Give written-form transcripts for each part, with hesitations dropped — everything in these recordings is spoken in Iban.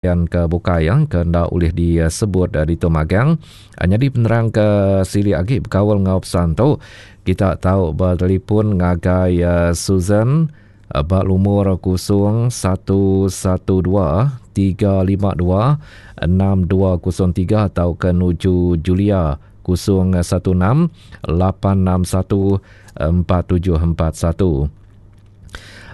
Belayan ke bukai ke enda ulih disebut ditu magang. Nyadi penerang ke silik agi bekaul enggau pesan tu, kita tau betelefon ngagai Susan ba lumur 011 352 6203 tauka nuju Julia 016 861 4741.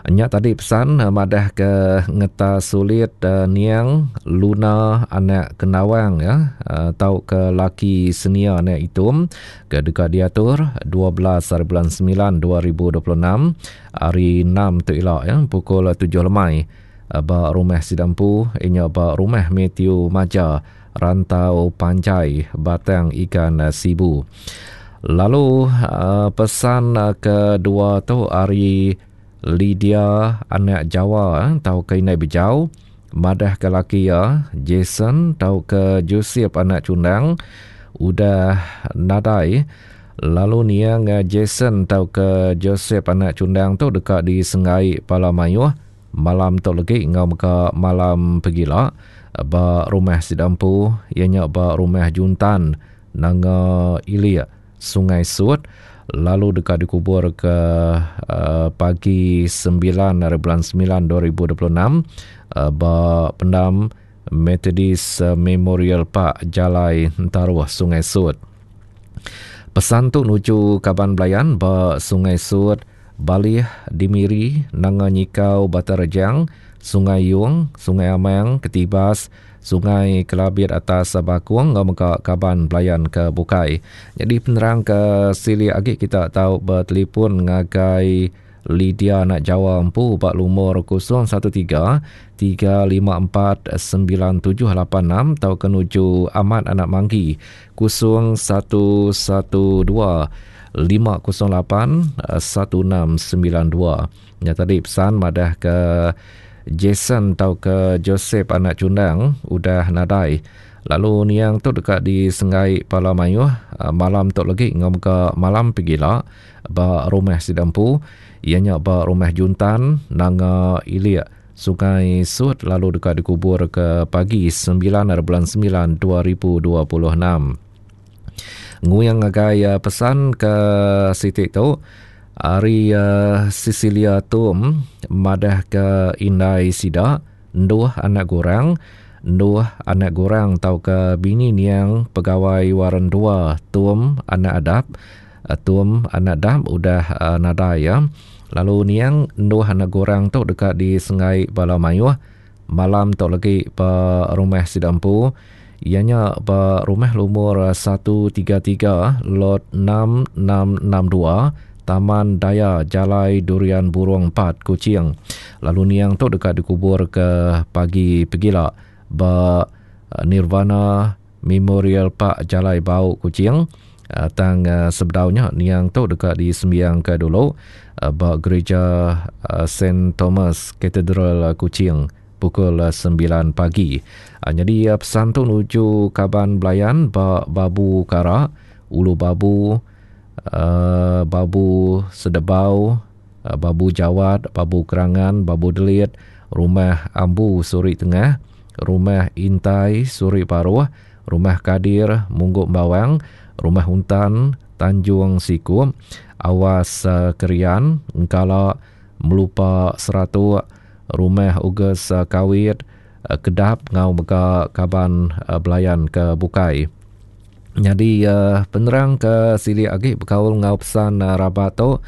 Nya tadi pesan madah ke ngeta sulit niang Luna anak Kendawang ya tauka laki senia anak Itum ke deka diatur 12 hari bulan 9 2026 hari 6 tu ila ya pukul 7 lemai ba rumah sida empu inya ba rumah Matthew Maja Rantau Panjai Batang Igan Sibu. Lalu pesan kedua tu ari Lydia anak Jawa tauka indai Bejau madahka laki iya Jason tauka Joseph anak Chundang udah nadai lalu niang Jason tauka Joseph anak Chundang tu deka disenggai pala mayuh malam tu legi enggau mega malam pegila ba rumah sida empu iya nya ba rumah Juntan Nanga Ilik, Sungai Sut lalu deka dikubur ke uh, pagi 9 hari bulan 9 2026 uh, ba pendam Methodist Memorial Park Jalai Entaruh Sungai Sut. Pesan tu nuju kaban belayan ba Sungai Sut, Balih di Miri, Nanga Nyikau Batang Rejang, Sungai Yong, Sungai Amang, Ketibas, Sungai Kelabit atas Bakong enggau mega kaban belayan ke bukai. Nyadi penerang ke silik agi kita tau betelefon ngagai Lydia anak Jawa empu ba lumur 013 354 9786 tauka nuju Amat anak Manggi 0112 508 1692. Nya tadi pesan madah ke Jason tauka Joseph anak Chundang udah nadai. Lalu niang tu deka disenggai pala mayuh malam tu legi enggau mega malam pegila ba rumah sida empu iya nya ba Rumah Juntan Nanga Ilik Sungai Sut lalu deka dikubur ke pagi 9 hari bulan 9 2026. Nguing ngagai pesan ke siti tu ari Cecilia Tum madah ke indai sida enduh anak gurang enduh anak gurang tauka bini niang pegawai Warren 2 Tum anak Adap Tum anak Dap udah nadai ya. Lalu niang enduh anak gurang tu deka disenggai bala mayuh Malam tu legi ba rumah sida empu iya nya ba rumah lumur 133 Lot 6662 Taman Daya Jalai Durian Burung 4 Kuching. Lalu niang tu deka dikubur ke pagi pegila ba Nirvana Memorial Park Jalai Bau Kuching. Tang sebedau nya niang tu deka disembiangka dulu ba Gereja Saint Thomas Cathedral Kuching pukul 9 pagi. Nyadi pesan tu nuju kaban belayan ba Babu Kara, Ulu Babu, Babu Sedebau, Babu Jawat, Babu Kerangan, Babu Delit, Rumah Ambu Suri Tengah, Rumah Intai Suri Baruh, Rumah Kadir, Munggu Embawang, Rumah Untan, Tanjung Sikup, Awas Kerian, Engkala, Melupa Seratuk, Rumah Uges Kawit, Kedap enggau mega kaban belayan ke bukai. Nyadi penerang ke silik agi bekaul enggau pesan rabat tu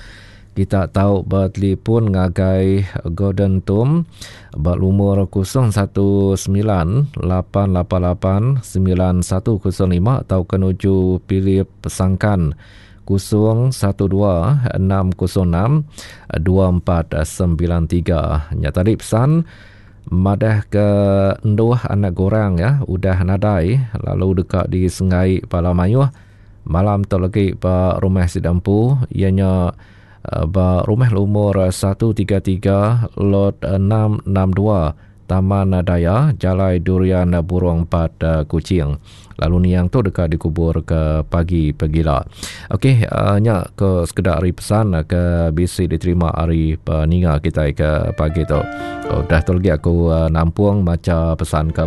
kita tau betelefon ngagai Gordon Tum ba lumur 019 888 9105 tauka nuju Philip Sangkan 012 606 2493. Nya tadi pesan madah ke enduh anak gorang ya udah nadai lalu deka disenggai bala mayuh malam tu lagi ba rumah sida empu iya nya eh, ba rumah lumur 133 lot 662 Taman Daya, Jalai Durian Burung 4 Kuching. Lalu niang tu deka dikubur ke pagi pegila. Okey, nya ke sekeda ari pesan ke bisi diterima ari peninga kitai ke pagi tu. Udah tu lagi aku nampung macha pesan ke bukai.